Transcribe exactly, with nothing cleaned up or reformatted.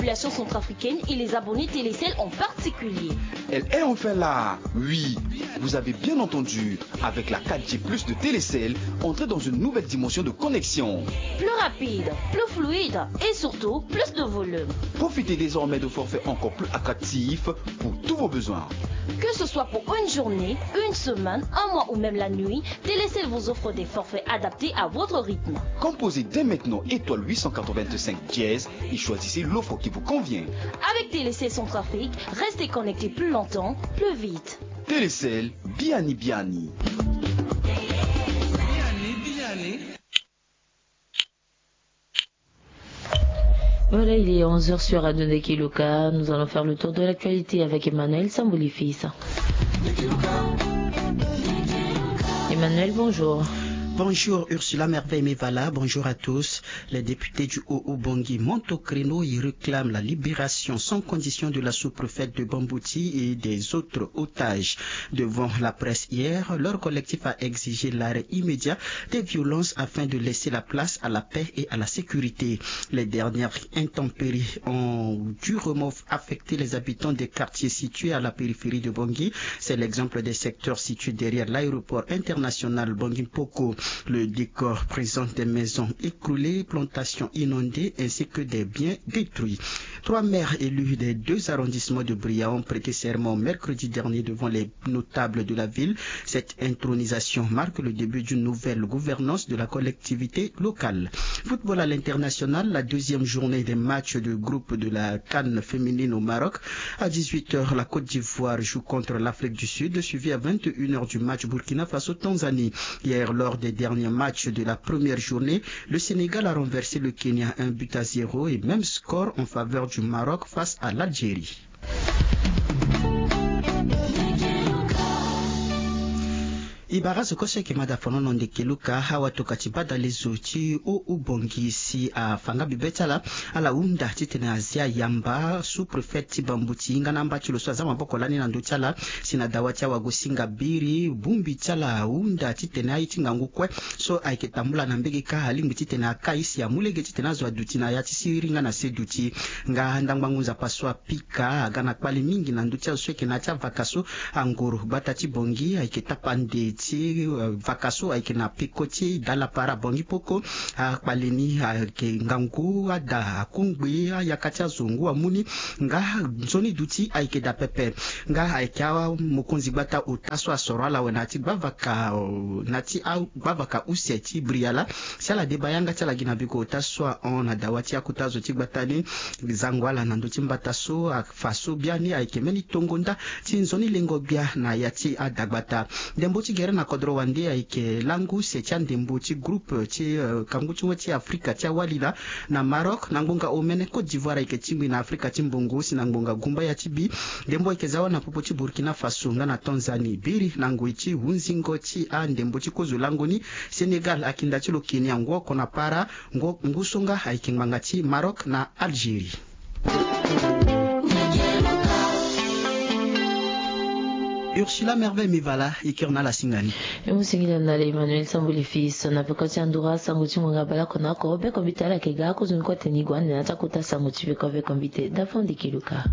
population centrafricaine et les abonnés Télécell en particulier. Elle est enfin là. Oui, vous avez bien entendu. Avec la quatre G plus de Télécell, entrez dans une nouvelle dimension de connexion. Plus rapide, plus fluide et surtout plus de volume. Profitez désormais de forfaits encore plus attractifs pour tous vos besoins. Que ce soit pour une journée, une semaine, un mois ou même la nuit, Télécell vous offre des forfaits adaptés à votre rythme. Composez dès maintenant étoile huit cent quatre-vingt-cinq dièse et choisissez l'offre qui vous convient. Avec Télécell Centrafrique, restez connecté plus longtemps, plus vite. Télécell, biani biani. Voilà, il est onze heures sur Radio Ndeki Luka. Nous allons faire le tour de l'actualité avec Emmanuel Sambouli Fils. Emmanuel, bonjour. Bonjour Ursula Merveille Mevala, bonjour à tous. Les députés du Haut-Oubangui montent au créneau, ils réclament la libération sans condition de la sous-préfète de Bambouti et des autres otages. Devant la presse hier, leur collectif a exigé l'arrêt immédiat des violences afin de laisser la place à la paix et à la sécurité. Les dernières intempéries ont durement affecté les habitants des quartiers situés à la périphérie de Bangui. C'est l'exemple des secteurs situés derrière l'aéroport international Bangui Mpoko. Le décor présente des maisons écroulées, plantations inondées ainsi que des biens détruits. Trois maires élus des deux arrondissements de Bria ont prêté serment mercredi dernier devant les notables de la ville. Cette intronisation marque le début d'une nouvelle gouvernance de la collectivité locale. Football à l'international, la deuxième journée des matchs de groupe de la CAN féminine au Maroc. À dix-huit heures, la Côte d'Ivoire joue contre l'Afrique du Sud, suivi à vingt et une heures du match Burkina Faso-Tanzanie. Hier, lors des derniers matchs de la première journée, le Sénégal a renversé le Kenya un but à zéro et même score en faveur du Maroc face à l'Algérie. E bara zo kue so ayeke ma da fonono ndeke luka, awatokua ti badale zo ti Haut-Oubangui si afa nga bibe ti ala. Ala hunda titene azia yamba sous-préfet ti Bambouti nga na amba ti lo so aza maboko lani na ndö ti ala, si na dawa ti awagosinga biri bongbi ti ala ahunda titene aye ti ngangu kue so ayeke tambula na mbege kâ alingbi titene akai si amu lege titene azo aduti na ya ti siriri nga na se duti. Nga ndangba ngu nzapa so apika aga na kpale mingi na ndö ti azo so ayeke na ya ti avaka so. Angoro gbata ti Bangui ayeke tapande ti, eh, vaka so ayeke na peko ti dalapara Bangui Mpoko. Akpale ni ayeke ngangu ada akungbi ayaka ti azo ngu amu ni. Nga nzoni duti ayeke daa pepe. Nga ayeke amokonzi gbata ota so asoro ala awe na ya ti gbavaka, na ya ti agbavaka use ti Briala. Si ala deba yanga ti ala gi na biko ota so ahon na dawa ti akota zo ti gbata ni, zango ala na ndö ti mbata so afa so biani ayeke mbeni tongo nda ti nzoni lengo gbia na ya ti adagbata. Ndembo ti gere na kodro wande ayeke lango use ti andembo ti groupe ti, eh, kangu ti we ti Afrika ti awali laa. Na Maroc, na ngbonga omene Côte d'Ivoire ayeke tingbi na Afrika ti mbongo si na ngbonga gumbaya ti bi. Ndembo ayeke za wâ na popo ti Burkina Faso nga na Tanzanie. Biri na ngoi ti hunzingo ti andembo ti kozo lango ni, Sénégal akinda ti lo Kenya ngu oko na para, ngu, ngu so nga ayeke ngbanga ti Maroc na Algérie. Ursula Merveille Mivala, e kiri na ala singa ni. E mu singila na ala Emmanuel Sambuli Fils na peko ti andura sango ti ngonga bale oko na oko, beko mbi te ala yeke ga akozoni kue tene e gue ande na ya ti akota sango ti peko beko mbi te. Dafo ndiki luka.